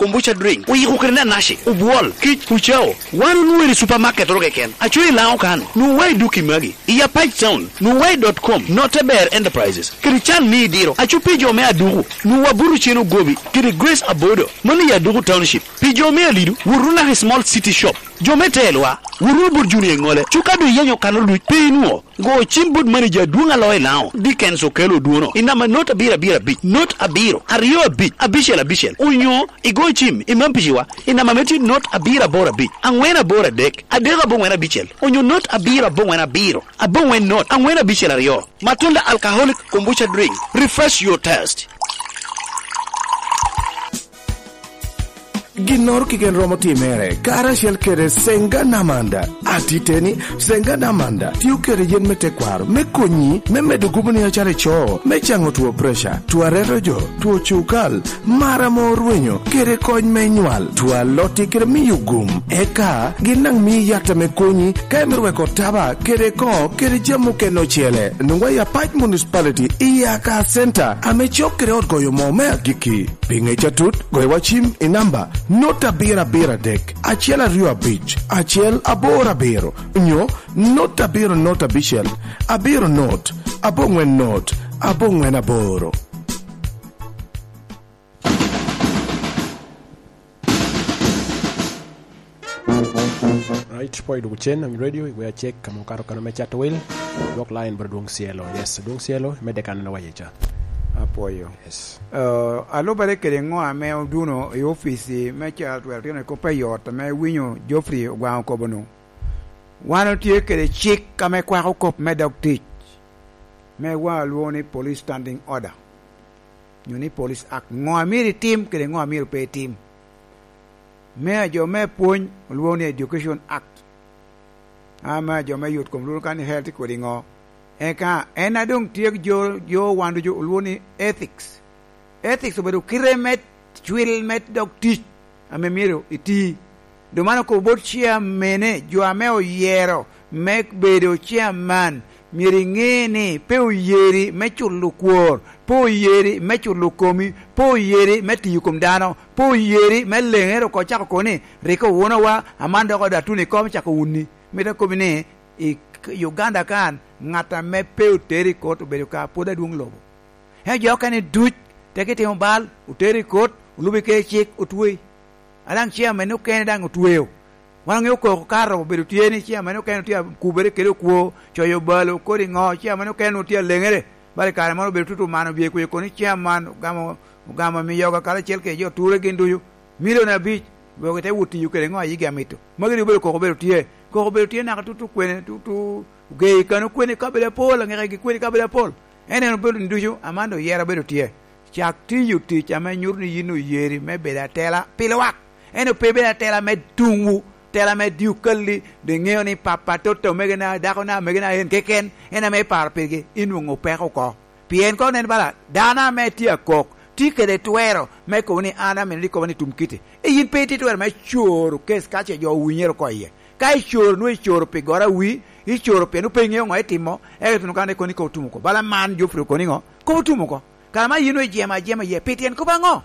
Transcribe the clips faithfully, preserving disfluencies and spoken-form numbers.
kombucha drink, oyiko kede nanaci, obwol, kic, ucao. Wan onwoŋo i supermarket oro keken. Aco i Laŋo kan, nwoŋo wa i duki magi. I Apac Town, nwoŋo wa i dot com, Noteber Enterprises, kede can me idiro. Aco pi jo me Aduku, nwoŋo wa buto cen ogobi, kede Grace Abodo, mano i Aduku Township. Pi jo me Alidu, wot wunu naka i Small City Shop. Jo me Telwa, wot wunu bot Junior Iŋole. Cuka doŋ iyenyo kano duc, pe inwoŋo. Go cim bot manager adwoŋ a loo i Laŋo, Dickens Okello Odwono, i namba not abiro abiro abic, not abiro, aryo abic, abicel abicel, onyo igo cim i Mampiciwa, i namba me tye not abiro aboro abic, aŋwen aboro adek, adek aboŋwen abicel, onyo not abiro aboŋwen abiro, aboŋwen not, aŋwen abicel aryo. Matunda Alcoholic Kombucha Drink, refresh your taste. Ginnoro keken romo timere karacel kede Senga Namanda. Atiteni, Senga Namanda tio kede yen me tekwaro me konyi me medo gubo ni acalo ico, me caŋo two preca, two areto jo, two cukal, mar ame orwenyo, kede kony me nywal, two alotti kede miyo gum. Eka gin daŋ mii yat ame konyi ka imito weko taba kede koŋo kede jami okene ocele. Nwoŋo i Apac Municipality i Aka Center ame cok kede ot goyo moo me agikki. Pi ŋec atut, goyo wa cim i namba not abiro abiro adek, acel aryo abic, acel aboro abiro, nyo not abiro not abicel, abiro not, aboŋwen not, aboŋwen aboro. Right, pwony dwogo cen, Ami Radio, igwea cek, ka makato kano me cato wil, dwok line bro Dwong Cielo. Yes, Dwong Cielo, medde kan en owaye ca. Apwoyo. Yes. Eh, alubere kede ŋo ame oduno i ofici me cal twero tino i kop a yot ame winyo Geoffrey Ogwaŋ okobo-nu? Wan otye kede cik ame kwako kop me dog tic, me wa lwoŋo ni Police Standing Order, nyo ni Police Act. Ŋo a myero itim kede ŋo a myero pe itim? Me a jo me pwony olwoŋo ni Education Act, ama jo me yot kom lworo kan ni health kodi ŋo. Eka en a doŋ tye jo, jo wan ducu olwoŋo ni ethics. Ethics obedo kite me cwil me dog tic ame myero iti. Doŋ man okobo bot ciamene, jo ame oyero me bedo ciaman, myero iŋe ni pe oyeri me culo kwor, pe oyeri me culo komi, pe oyeri me tiyo kom dano, pe oyeri me leŋere oko cako kobo ni, "Rik owunowa, aman dok oda tuno i kom cako wuni." Mito kobbi ni, i Uganda kan, ŋat ame pe otero i kot obedo ka pwod adwoŋ lobo. Ento jo okene duc, teke itimo bal, otero i kot, olubo kede cik, otwei. A daŋ chairman okene daŋ otweo. Wan oŋeo koko ka robo bedo tye ni chairman okene tye akubere kede okwo, coyo balo, kodi ŋo, chairman okene tye aleŋere. Bala i kare moro obedo tutu man obye kuye kono ni chairman ogamo, ogamo miyoga karacel kede jo ture gin ducu. Milion abic, wek ite wot tiyo kede ŋo a yigi amito. Magi rik obedo koko obedo tye. Koko obedo tye naka tutu kwene, tutu ogei kano kwene i kabedo apol, aŋekegi kwene i kabedo apol. En en obedo ni ducu, aman doŋ yero obedo tye. Cak tiyo tic ame nyuto ni yin oyeri me bedo atela pi lwak. En doŋ pe ibedo atela me tuŋwu, tela me diokalli, doŋ iŋeo ni pappa, totta, omegona, dakona, omegona en keken, en ame iparo pigi, inwoŋo peko oko. Pien ka onen bala dano ame tye akok, tye kede twero me kobo ni an amito ni kobo ni tum kiti. E yin pe itye twero me coro kes ka ce jo owinyere oko iye. Ka icoro, nwoŋo icoro pi goro awi, icoro pien pe iŋeo ŋo itimo, eka ituno kan ikono ikobo tum oko. Bala man Geoffrey okoni ŋo? Kobo tum oko. Kara ma yin nwoŋo ijemo ajema iye, pi tyen kop aŋo?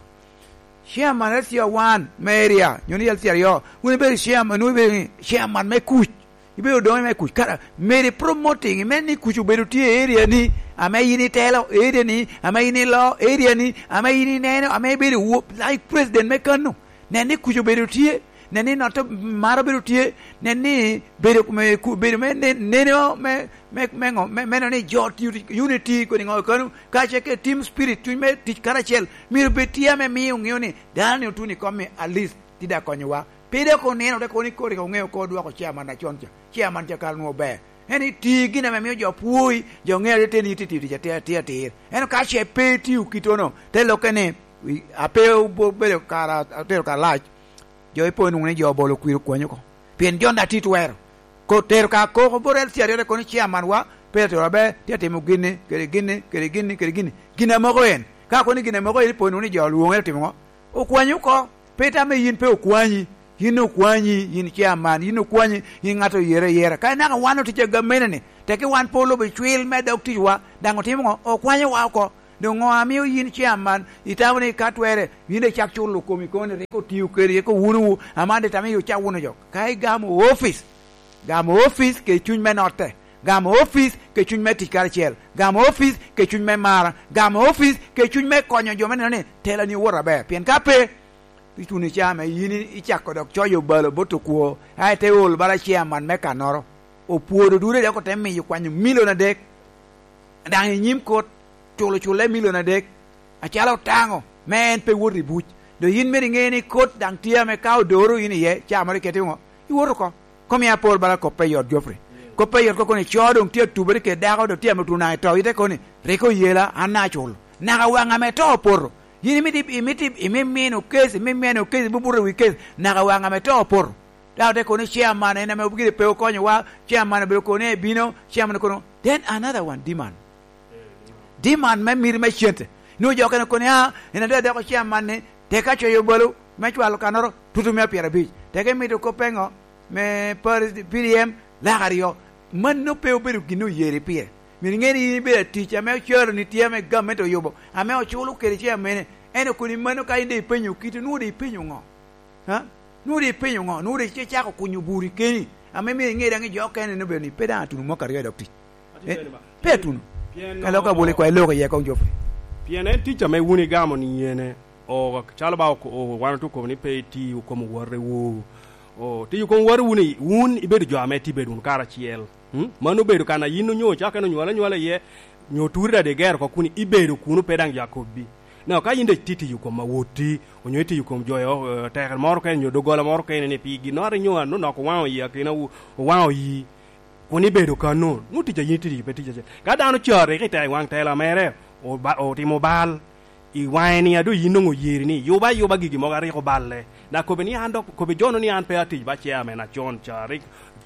Chairman L C R one me area, nyo ni L C R aryo, wun ibedo chairman, nwoŋo ibedo ni chairman me kuc. Ibedo doŋe me kuc. Kara, meri promoting, imen ni kuc obedo tye i area ni, ame yin itelo area ni, ame yin ilo area ni, ame yin ineno, ame ibedo wo-, like president me kano. Nen ni kuc obedo tye, nen ni noto mar obedo tye, nen ni bedo me ku-, bedo me ne-, neno me, me, me ŋo, me, meno ni jo tiyo tic, unity kodi ŋo kano, kacel kede team spirit, cuny me tic karacel, myero bed tye ame miyo ŋeo ni dano ni otuno i kom-mi at least tye daŋ konyowa. Pe dok oneno, te kono ni kodi ka oŋeo ko dwoko chairman acon ca. Chairman ca kara onwoŋo ber. En iti gin ame mio jo pwoi, jo ŋeo ni teni iti tiyo tic atir, atir, atir. Ento ka ce pe itiyo kittono, te lokke ni, i, ape obo-, obedo kara, atero kara lac, jo ipo nwoŋo ni jo obolo kwir okwanyi oko. Pien jo daŋ tye twero. Ko tero ka koko bot L C R aryo te kono ni chairman wa, pe atero aber, tye atimo ginni, kede ginni, kede ginni, kede ginni. Gin amoko en. Ka kono ni gin amoko en ipo nwoŋo ni jo olwoŋe otimo ŋo? Okwanyi oko. Pe itamme yin pe okwanyi. Yin okwanyi, yin chairman, yin okwanyi, yin ŋat oyere ayera. Ka inaka wan otic a gamente-ni, teke wan pe olubo cwil me dog ticwa, daŋ otimo ŋo? Okwanyowa oko. Doŋ ŋo amio yin chairman itamo ni ka twere yin icak culo komi kono ni rik otio kede, rik owunowu, aman de tamo ni icak wuno jo? Ka igamo opic, gamo opic kede cuny me notte, gamo opic kede cuny me tic karacel, gamo opic kede cuny me mara, gamo opic kede cuny me konyo jo me neno ni telani owoto aber. Pien ka pe, ituno i caa me yin icako dok coyo obalo bot okwo, a ite ol bala chairman me kannoro. Opwodo dude dok ote miyo kwanyo milion adek. Daŋ i nyim kot, culo culle milion adek, acalo otaŋo, me en pe wot i buc. Doŋ yin myero iŋe ni kot daŋ tye ame ka odoro yin iye, caa moro ikete ŋo? Iwot oko. Komi apol bala kop pe yot, Geoffrey. Kop pe yot koko ni co doŋ tye atubere kede dako, doŋ tye ame otuno naŋ i to, ite kono ni, "Rik oyela, an naŋ aculo." Naka waŋ ame to opoto. Yin imito, imito, imimino kec, imimino kec, ibubuto i wi kec, naka waŋ ame to opoto. Dok te kono ni chairman en ame gire pe okonyowa, chairman obedo kono ni ebino, chairman kono, then another one, demand. Demand me miti me cente. Nwoŋo jo okene kono ni, "Ah, en adada doko chairman ni, tek ka coyo balo me cwalo kannoro, tutu mia pyerabic." Tek emito kop eŋo? Me Paris, P D M, lak aryo. Mano pe obedo gin oyeri pire. Myero iŋe ni in ibedo atic ame ocalo ni tye ame gamente oyubo, ame oculo kede chairman-e. En okoni mano ka in de ipenyo kite, nwoŋo de ipenyo ŋo? Ha? Nwoŋo de ipenyo ŋo? Nwoŋo de icako kunyo buri keni, ame myero iŋe daŋ i jo okene ni obedo ni pe daŋ atuno mwaka aryo dok tic. Eh, pe atuno. Ka lok abolo ikwae lok iye koŋ Geoffrey. Pien en tic ame wun igamo ni yene, o, calo ba oko-, o, wan otye okobo ni pe iti okom owotewu. O, tic okom owote wun i-, wun ibedo jo ame tye bedo wunu karacel. Hmm? Mano obedo kan a yin onyo cakere onywale anywala iye, nyo turi dade igero oko kun ibedo kuno pe daŋ jo akobbi. Now, ka yin daŋ itye tiyo kom awotti, onyo itiyo kom jo, eh, tekere moro kene, onyo doggola moro kene ni pi ginnoro inyo anonok owaŋo yi akinawu, owaŋo yi, kun ibedo kano, nwoŋo tic a yin itye tiyo pe tic acel. Ka dano cari ki teko i waŋ tela mere, oba-, otimo bal, i waŋe ni a doŋ yin doŋ oyeri ni yuba ayuba gigi mogo a rik oballe. Na kobbe ni an dok, kobbe jo-nu ni an pe atic ba chairman acon ca, rik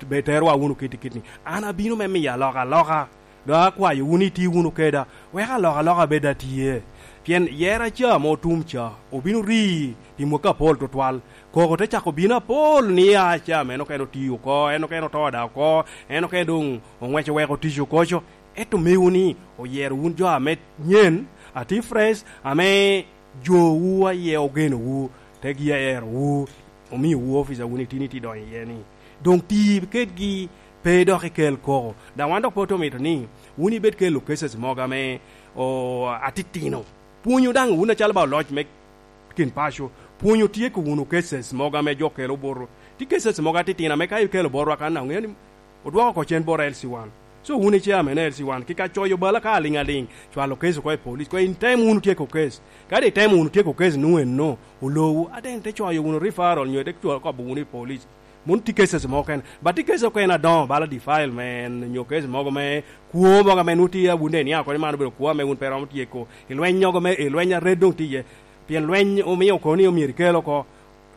be terowa wunu kit i kit ni. An abino me miyo alokaloka. Dok akwayo wun iti wunu keda, wek alokaloka bed atye. Pien yera ca ame otum ca obino ri pi mwakki apol tutwal. Koko te cako bino apol ni a ca, ame en okene oti oko, en okene oto da oko, en okene doŋ oŋweco weko tic oko co. Ento mewu ni oyero wun jo ame nyen, ati fresh, ame jowu aye ogenowu, te gi aerowu, omiowu opic a wun itini ti donyo iye ni. Doŋ ti kedgi pe dok ikel koko. Daŋ wan dok pe ote omito ni wun ibed kelo cases mogo ame, o, atitino. Pwonyo daŋ wun acalo ba oloc me kin paco. Pwonyo tyeko wunu cases mogo ame jo kelo boto. Ti cases mogo atitino ame ka ikelo botwa kan, aŋeo ni odwoko oko cen bot L C one. So wun ice ame ne L C one, kika coyo bala ka aliŋ aliŋ, cwalo case oko i police, ko in tem wunu tyeko case. Kadi itemo wunu tyeko case nu enno, olowu, aden te coyo wunu referral, nyo te cwalo kobo wunu i police. Mano tye cases mogo kene. But tye cases okene adoŋo, bala defilement, nyo case mogo me kwo mogo ame nwoŋo tye awunde ni ako ni man obedo kwo ame wun pe romo tyeko. I lweny mogo me, i lweny a red doŋ tye iye. Pien lweny omio kono ni omyero ikel oko.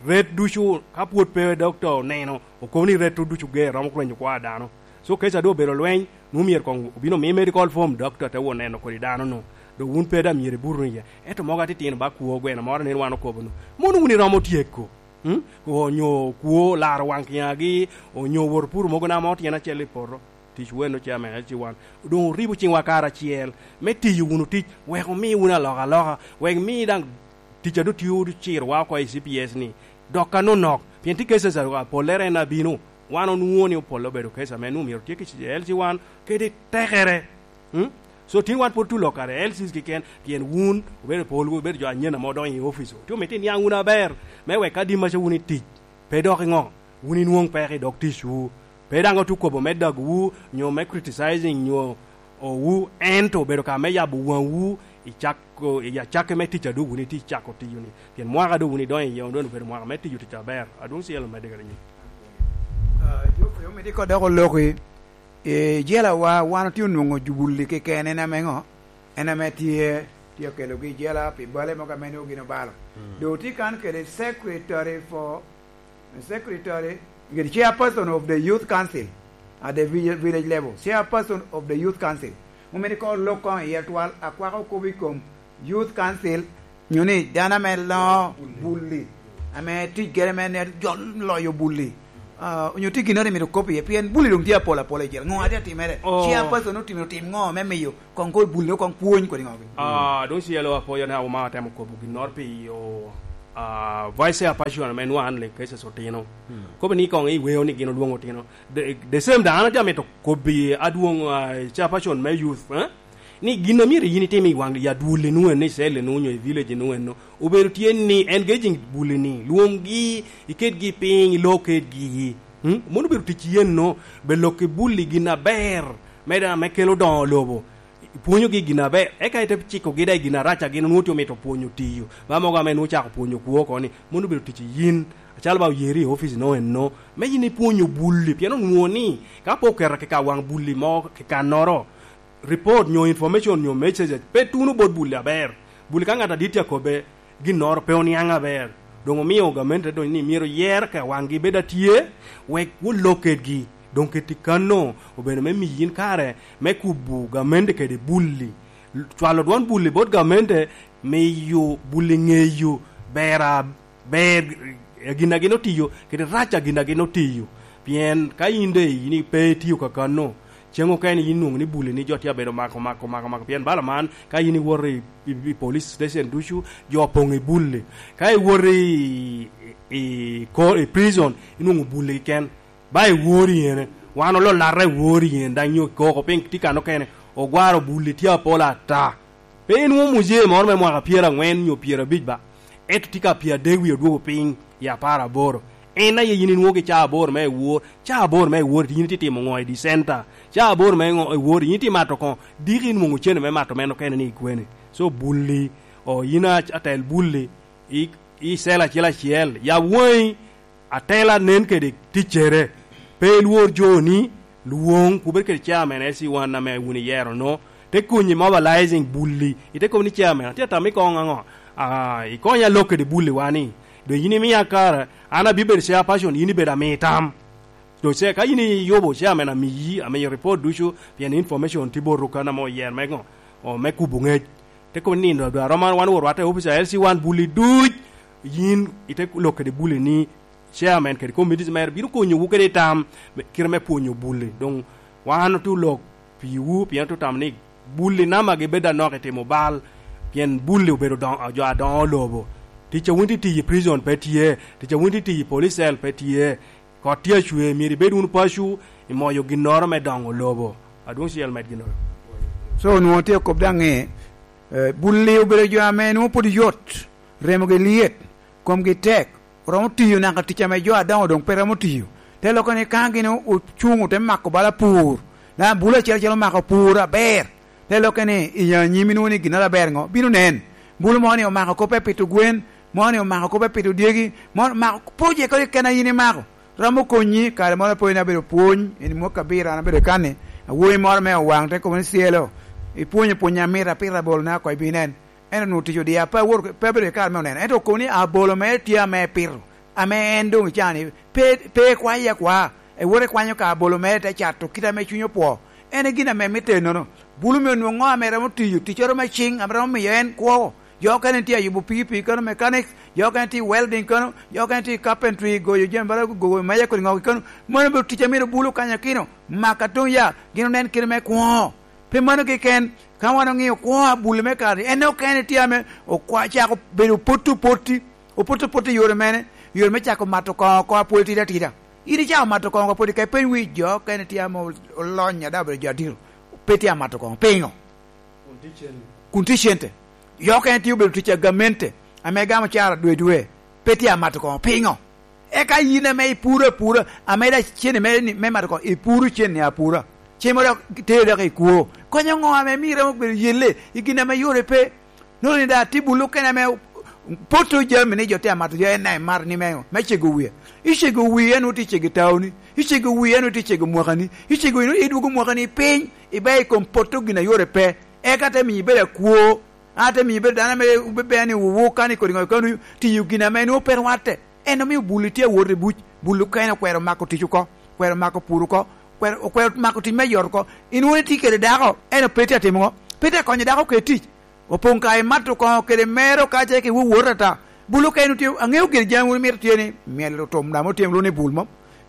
Red ducu, ka pwod pe dokta oneno, okobo ni red ducu ger, romo rwenyo kwo a dano. So, case a doŋ obedo lweny, nwoŋo myero koŋ obin omi medical form, dokta te wot neno kodi dano-nu. Doŋ wun pe daŋ myero ibuto iye. Ento mogo atitino ba kwo gweno moro nen wan okobo-nu. Mono wun iromo tyeko. Hmm? Onyo kwo laro waŋ kiŋagi, onyo wot puro mogo na mo tyen acel i poto. Tic weno ce ame ci wan. Doŋ oribo ciŋwa karacel me tiyo wunu tic, wek omi wunu alokaloka, wek mi daŋ tic a doŋ tio cirowa oko i C P S ni, dok anonok, pien tye cases a, a pollere en abino, wan onwoŋo ni opolle obedo case ame nwoŋo myero tye ki L C one kede tekere. Hmm? So, tin wan pwod tye lok kare L Cs keken, pien wun obedo pol, obedo jo anyen ame odonyo i opic. Tye omito iniaŋ wunu aber, me wek ka dimmaca wun i tic, pe dok iŋo, wun inwoŋ peko i dog ticwu. Pe daŋ otukobo me dagowu, nyo me criticizing, nyo owu, ento obedo ka me yabo waŋwu i cak, i acakke me tic a doŋ wun itye icako tiyo-ni. Pien mwaka a doŋ wun idonyo iye, doŋ obedo mwaka me tiyo tic aber. Adwoŋ Cielo medde kede nying. Ah, Geoffrey, omito iko dok oloki. I jelawa, wan otye onwoŋo jubulli keken, en ame ŋo? En ame tye, tye okelogi i jela pi bale mogo ame nwoŋo gin obalo. Mm. Doŋ otye kan kede secretary for, secretary, kede chairperson of the youth council at the vi-, village level, chairperson of the youth council. Omito iko lok koŋ iye twal, akwako kop i kom youth council, nyo ni dano ame loŋo bulli, ame tic gere me ne-, jo loyo bulli. Ah, onyo tye ginnoro imito kop iye, pien bulli doŋ tye apol apola i jel. Ŋo ate atimere? Oh. Chairperson otimo, otim ŋo me miyo koŋ kor bulli, koŋ pwony kodi ŋo? Ah, doŋ cielo apwoyo ne Auma otemo kobo ginnoro pi yo, ah, vice chairperson ame nwaŋ an Link Cases otino. Hmm. Kobo ni koŋ iweo ni gin olwoŋo otino. The, the same daŋ an atye amito kobbi adwoŋ, ah, chairperson me youth, eh? Ni gin a myero yin itim i waŋ yat wulli nu eno, i cell nu, onyo i village nu eno, obedo tye ni engaging bulli ni, lwoŋgi, iketgi piny, ilok kedgi. Hmm? Mano obedo tic yen no, be lok i bulli gin aber, me daŋ me kelo doŋo lobo. Ipwonyogi gin aber, eka ite cikogi daŋ i gin arac a gin onwoŋo tye omito pwonyo tiyo. Ba mogo ame nwoŋo cako pwonyo kwo oko ni, mano obedo tic yin, acalo ba oyeri i ofici no eno, me yin ipwonyo bulli, pien onwoŋo ni, ka pe oketo kika waŋ bulli mo kikannoro, report nyo information nyo messages pe tuno bot bulli aber. Bulli ka ŋat adit tye akobbe ginnoro pe oniaŋ aber, doŋ omio gamente doŋ ni myero yer ka waŋgi bed atye, wek wulok kedgi. Doŋ keti kanno obedo me miyi yin kare me kubo gamente kede bulli. Cwalo dwon bulli bot gamente miyo bulli ŋeyo ber a-, ber, eh, gin a gin otiyo, kede rac a gin a gin otiyo. Pien ka yin de yin pe itiyo kakano, ceŋ okene yin nwoŋo ni bulli ni jo tye abedo mako, mako, mako, mako. Pien bala man, ka yin iwoto i, i, i police station ducu, jo opoŋ i bulli. Ka iwoto i, i, i ko-, i prison, inwoŋo bulli keken. Ba iwori ene. Wan ololata iwori ene, daŋ nyo koko piny tye kan okene. Ogwaro bulli tye apol ata. Pe inwoŋo muzee moro me mwaka pyeraŋwen nyo pyerabic ba, ento tye ka pyeradek wie odwogo piny i apar aboro. En aye yin inwoŋo ki caa aboro me ewor, caa aboro me ewor, yin itye timo ŋo i di center? Caa aboro me ŋo ewor, yin itye mato koŋo? Diki inwoŋo cene me mato meno kene ni i kwene? So bulli, o, yin a-, atel bulli, i, i cell acel acel, yab waŋi, atela nen kede ticcere. Pe ilwor jo ni, lwoŋ, kubed kede chairman S C one ame wun iyero no, te konyi mobilizing bulli, ite kobo ni chairman, atye atamo ikoŋ aŋo? Ah, ikonya lok kede bulli wani. Doŋ yin imia kara, an abibedo chairperson, yin ibedo ami tam. Doŋ ce, ka yin iyubo chairman amiyi, amiyo report ducu, pien information tye botu kan ame oyer me ŋo? O, me kubo ŋec. Te kobo ni, "Nino dwa romo wan wot rwatte i opic a L C one bulli duc, yin ite lok kede bulli ni chairman kede committees mere bino konyowu kede i tam me, kite me pwonyo bulli." Doŋ wan otye olok piwu, pien otye otamo ni bulli nama gibed anok i timo bal, pien bulli obedo doŋ-, jo adoŋo lobo. Tic a wun tye tiyo i prison pe tye, tic a wun tye tiyo i police cell pe tye. Kot tye acwe, myero ibed wunu paco, imoyo ginnoro me doŋo lobo. Adwoŋ cel med ginnoro. So, onwoŋo tye kop daŋ ni, eh, bulli obedo jo ame nwoŋo pwod yot, remogi lyet, komgi tek, oromo tiyo naka tic ame jo adoŋo doŋ pe romo tiyo. Te lokke ni ka gin o-, ocuŋ ote mako bala pur, daŋ bulu acel acel omako pur aber. Te lokke ni i anyim inwoŋo ni ginnoro aber ŋo? Bino nen. Bulu mo ni omako kop me pito gwen, mo ni omako kop me pito dyegi, mo omako project keken a yin imako. Romo konyi, kare moro apoyo ni abedo pwony, en mwaka abiro an abedo kan-ni, awobi moro me Owaŋ te kobo ni, "Cielo, ipwonyo pwony amit apito abolona oko ibinen." En onwoŋo tic odia, pe awoto, pe abedo i kare me oneno. Ento okobo ni abolo mere tye ame epito, ame en doŋ i caa-ni, pe, pe ekwaye akwa. Ewoto ekwanyo ka abolo mere te cato kite ame cunye opwo. En e gin ame mitte ennono. Bulu me onwoŋo ame romo tiyo, ticcoro me ciŋ, ame romo miyo en kwo. Jo okene tye ayubo pikipiki kano, mechanics, jo okene tye i welding kano, jo okene tye i carpentry, goyo jami bala gogo meja kodi ŋogi kano. Mano obedo tic a myero bulu kanyakino. Maka doŋ ya, gin onen kite me kwo. Pe mano keken, ka wan oŋio kwo a buli me kare, en okene tye ame okwa-, cako bedo opotto opoti, opotto opoti i yore mene, yore me cako mato koŋo oko a pwod tidi atida. In icako mato koŋo oko pwod, ka ipeny wi jo okene tye ame ol-, olony ada obedo jo adito, pe tye amato koŋo. Piŋo? Kun tye cente. Kun tye cente. Jo okene tye obedo tic a gamente, ame gamo cara dwe dwe, pe tye amato koŋo. Piŋo? Eka yin ame ipuro apura, ame da cene me, me mato koŋo, ipuro cene apura. Cen mo dok tero dok i kwo. Konyo ŋo ame mire obedo yelle i gin ame yore pe? Nwoŋo ni da tye bulu kene ame poto jami ni jo tye amato, jo en daŋ emato ni me, me cego wie. Icego wie, en woti cego taoni. Icego wie, en woti cego mwakani. Icego wie, idwogo mwakani piny, ibe i kom poto gin a yore pe. Eka te miyo ibedo akwo. An te miyo ibedo dano ame wubebea ni wuwu kan i kodi ŋo, kan tiyo gin ame nwoŋo pe rwatte. En omio buli tye awot i buc, buli okene okwero mako tic oko, okwero mako pur oko, okwero, okwero mako tic me yot oko. In wun itye kede dako, en pe tye atimo ŋo? Pe tye akonyo dako kede tic. Opoŋ ka imato koŋo kede mero ka ce ki wowot ata. Bul okene tye, aŋeo gire jami wun imito tye ni, myel otum daŋ otyem luni bul mom.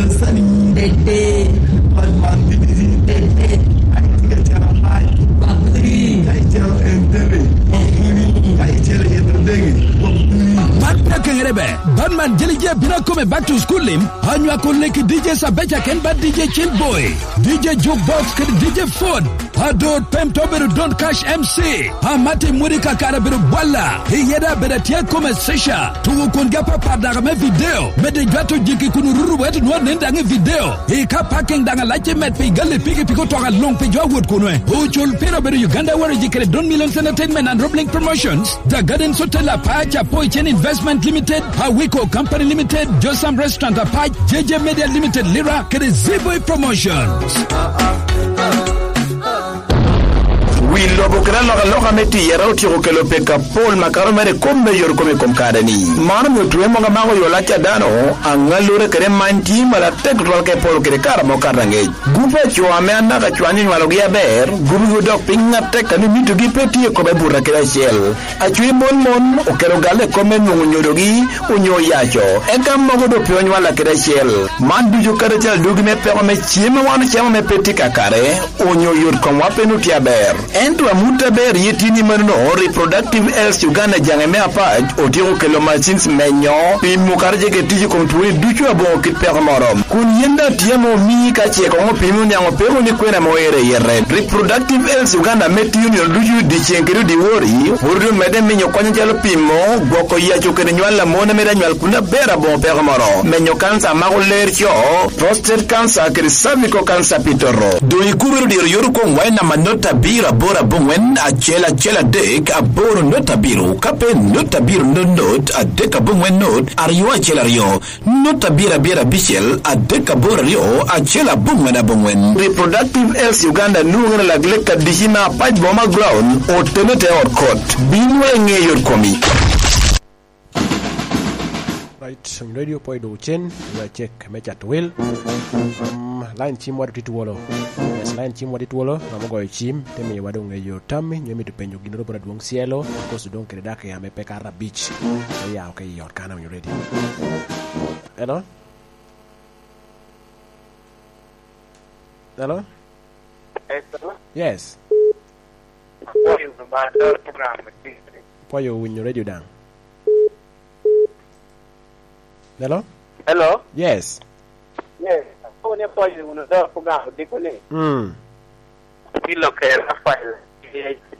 Dede. Dede. Batman Dede. Dede. Ka icito en dede. Ka icito en dede. Man pe akeŋere be, Batman Jelije bino akome back to school lim, anywako leki D J Sabeca ken ba D J Chill Boy, D J Jukebox kede D J Ford. Adot pem to obedo Don Cash M C. Amati Mudi kakare obedo bwalla. Iyeda abedo atye kome Sisha. Tugo kwongi apapat daka me video. Mede jwato jiki kun orutu wet nwa nen daŋ i video. I ka parking daŋ alac i met pi gali piki piki otoka luŋ pi jo awot kunwe. Ocul pira obedo Uganda Warriors kede Don Millions Entertainment and Roblink Promotions. The Gardens Hotel Apac, Apoy Chen Investment Limited, Awiko Company Limited, Josam Restaurant Apac, J J Media Limited Lira, kede Z-Boy Promotions. Wi lobo kede alokaloka me tiyere otyeko kelo peko apol makato mere i kop me yot kome i kom kare-ni. Man omio twe mogo amako yo lac a dano, aŋallure kede many tye malatek tutwal ka iporo kede kare ame okato aŋec. Gupe a co ame anaka cwany onywalogi aber, gupigo dok piny atek a ni mitogi pe tye i kome buto kede acel. Acwiny mon mon okelo galle i kop me nwoŋo nyodogi onyo oyaco, eka mogo doŋ pe onywalla kede acel. Man ducu kadi acel adugi me peko me cem a wan ocamo me pe tye kakare, onyo yot komwa pe nut tye aber. Ento amut aber ye tye ni manono, Reproductive Health Uganda jaŋe me apac otyeko kelo machines menyo, pimo kadi jege tic i kom twoni ducu aboŋo kit peko moro. Kun yen daŋ tye ame omii ka ce koŋ opimi oniaŋ opeko ni kwena ame oero i yete. Reproductive Health Uganda ame tiyo nino ducu dyeceŋ kede odiwori, pwod omedde minyo kony acalo pimo, gwoko yaco kede nywal a mon a mito anywal kun aber aboŋo peko moro, menyo kanca a mako ler co, prostate cancer kede cervical cancer pi toto. Doŋ ikubere dyero yot okoŋ wa i namba not abiro aboro aboŋwen acel acel adek aboro not abiro, ka pe not abiro not not adek aboŋwen not aryo acel aryo. Nut abiro abiro abicel, adek aboro aryo, acel aboŋwen aboŋwen. Reproductive Health Uganda nwoŋere lak lek adici me apac boma ground, otene te ot kot. Bin wa i ŋe yot komi. Right, radio poi do cen, ya check me chat wil. Um, line chim wadu titwolo. Yes, line chim wadu titwolo, amo goyo chim, te miyo wadu ŋeyo tammi, nyo mito penyo gin rubura dwong cielo, koso dong kede dak ya me peka arabic. Te ya, okay, yot kana winyo radio. Hello? Hello? Yes. Apwoyo winyo radio daŋ. Hello? Hello? Yes. Yes. Akobo ni apwoyo wunu dok Ogamo Diko ni. Mm. Apilo ke Rafael,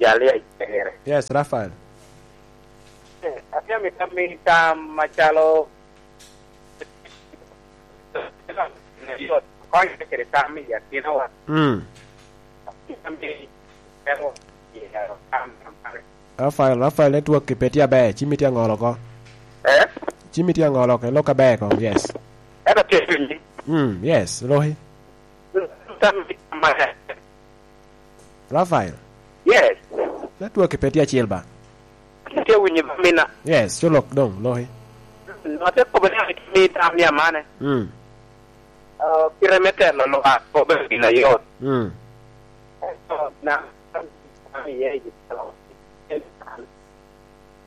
Jalia Icere. Yes, Rafael. Eh, atye amito ami tam macalo yot, konye kede tam i akinawa. Mm. Rafael, Rafael, network pe tye aber, ci miti aŋolo oko. Eh? Ci miti aŋolo oko, ilok aber koŋ, yes. Ento tye piny. Mm, yes, loki. Tam i tam aber. Rafael. Yes. Network pe tye acil ba? Tye winyi ba mina. Yes, co lok doŋ, loki. No, ate kobo ni ame kimi tam ni amane. Mm. Ah, kite me telo lwak obedo gin ayot. Mm. Ento na, na iye i telo,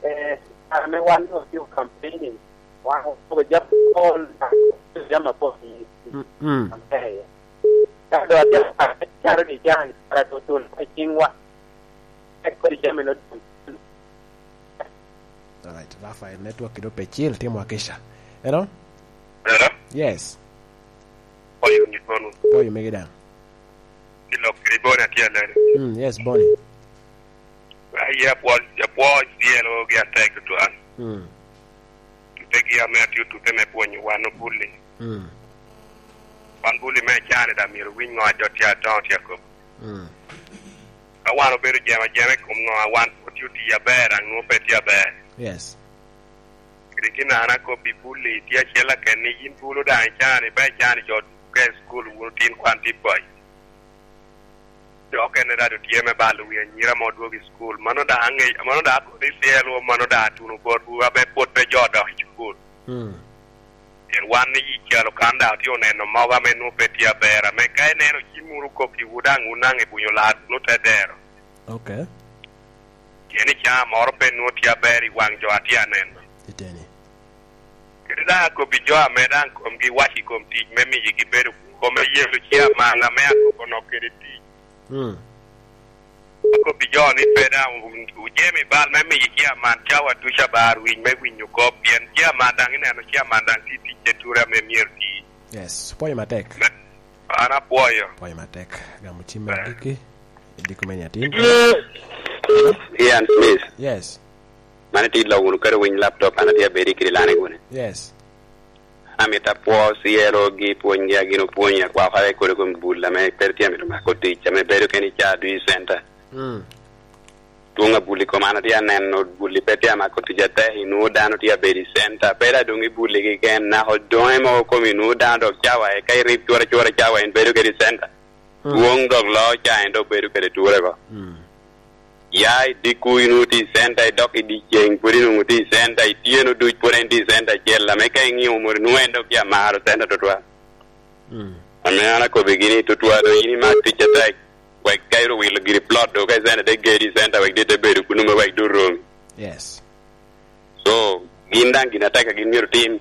eh, kare me wan no tye campaigning, wan okobo jami apol, jami apol i, mm, mm, campaign. Ka do atye ka caro ni jang, kara do tun i cingwa. Tek kodi jami no tun. Alright, Rafael, network kido pe cil, timo akisha. Hello? Hello? Yes. Oyo ni kono. Oyo mege daŋ. Ilok kede Boni atye alere. Mm, yes, Boni. Aye apwoo, apwoo dyelo gi atek tutwal. Mm. Tutegi ame atye tute me pwonyo wan obulli. Mm. Wan bulli me can-ni daŋ myero winy ŋo a jo tye adoŋo tye akobo. Mm. Ka wan obedo jemo ajema i kom ŋo, a wan pwod tye otiyo aber, aŋo pe tye aber? Yes. Kede gin an akobbi, bulli tye acel aken ni yin bulu daŋ ican, iba ican i jo duku ka i cukul wunu tin kwan tye boy. Jo okene rado tye me balo wi anyira ma odwogo i cukul. Mano daŋ aŋe-, mano daŋ akodi i tyelwu, mano daŋ atuno botwu, abe pwod pe jo odok i cukul. Mm. Pien wan i yi calo kan daŋ otye oneno mogo ame nwoŋo pe tye aber, ame ka ineno cim wunu kokkiwu daŋ wun daŋ ibunyo lar wunu te dero. Ok. Pien i caa moro pe nwoŋo tye aber i waŋ jo atye aneno. Iteni. Kadi daŋ akobbi jo ame daŋ komgi wac i kom tic me miyigi bedo kwo me yelo ciaman ame akobo nok kede tic. Mm. Akobbi jo ni pe daŋ wu-, wujemi bal me miyo ciaman cawa ducu abar winy me winyo kop, pien ciaman daŋ ineno ciaman daŋ tye ticce ture ame myero ti. Yes, pwoyo matek. Me-, an apwoyo. Pwoyo matek. Gamo cim me agikki. Idiko me nyatin. Ian Smith. Yes. Man itye lok wunu kede winy laptop, an atye abedi kede lane guni. Yes. Amito apwo cielo gi pwonygi a gin opwonyo, akwa okare kodi kom bul ame pe tye amito mako tic, ame bedo kene i Caa Dui Center. Mm. Dwoŋ abulli kom an atye aneno, bulli pe tye amako tic atek, inwoŋo dano tye abedo i center, pe daŋ doŋ i bulli keken, naka odoŋe mogo kom inwoŋo dano dok cawa, eka irib cwora cwora cawa, in bedo kede i center. Mm. Dwoŋ dok loo ca en dok bedo kede ture oko. Mm. Ya i dikku, inwoŋo tye i center, idok i dyeceŋ, pwod inwoŋo tye i center, ityeno duc pwod en tye i center acel, ame ka iŋio mot, inwoŋo en dok tye amaro center tutwal. Mm. Ame an akobbigi ni, tutwal doŋ in imak tic atek, wek ka iro wilo giri plot do, ka i center te gedi i center, wek dit te bedo kunu me wek dot romi. Yes. So, gin daŋ gin atek a gin myero tim.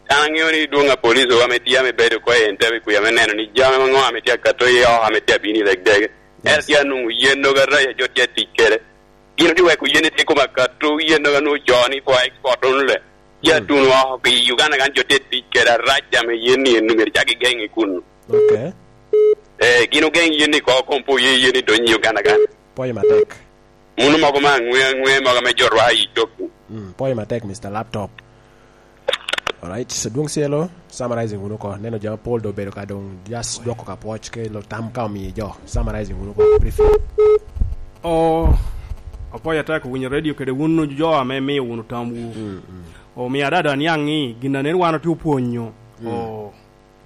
An aŋeo ni dwoŋ a police wa ame tye ame bedo oko i Entebbe kuca me neno ni jami ŋo ame tye akato i oko ame tye abino i Legdege. Yes. Ento tye anwoŋo yen nogo arac a jo tye atic kede. Gin otye weko yen ni tye kom akato yen nogo anwoŋo co ni for export only. Tye, mm, atuno oko i Uganda kan jo tye tic kede arac ame yen ni en myero cak gigeŋ i kunu. Ok. Eh, gin ogeŋ yen ni ko kom po ye yen ni donyo i Uganda kan. Pwoyo matek. Munu mogo me aŋwe aŋwe mogo ame jo rwako i cok. Mm, pwoyo matek, Mister Laptop. Alright, so dwoŋ cielo, summarizing wunu oko. Neno jami pol do obedo ka doŋ just dwoko ka pwoc ke lo tam ka omiyo jo. Summarizing wunu oko, briefly. Oh, apwoyo atek owinyo radio kede wun jo ame miyo wunu tamwu. Mm, mm. Omiyo adada niaŋ ni gin a nen wan otye opwonyo. Mm. Oh,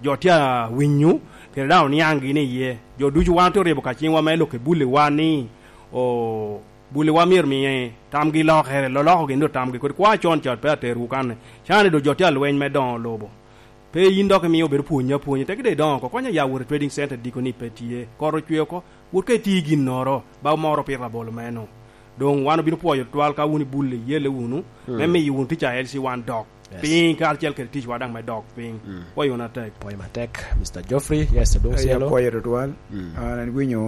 jo tye awinyo, kede daŋ oniaŋ gin iye. Jo ducu wan otye oryebo ka ciŋwa me lok i bulliwa ni, o, bulliwa myero miye tamgi lokere, loloko gin do tamgi, kodi kwa con cat pe aterwu kanne. Cani do jo tye alweny me doŋo lobo. Pe yin dok imiyo obedo pwonye apwonya, teki de idoŋo oko, konya ya wot i trading center diko ni pe tye. Kot ocwe oko, wot ka iti ginnoro, ba moro pito labolo meno. Doŋ wan obino pwoyo twal ka wun ibulli, iyelle wunu, mm, me miyo wunu tic a L C one dok. Yes. Piny karacel kede ticwa daŋ me dok piny. Mm. Pwoyo wunu atek. Pwoyo matek, Mister Geoffrey. Yes, dwoŋ cielo. Pwoyo tutwal. Mm. An awinyo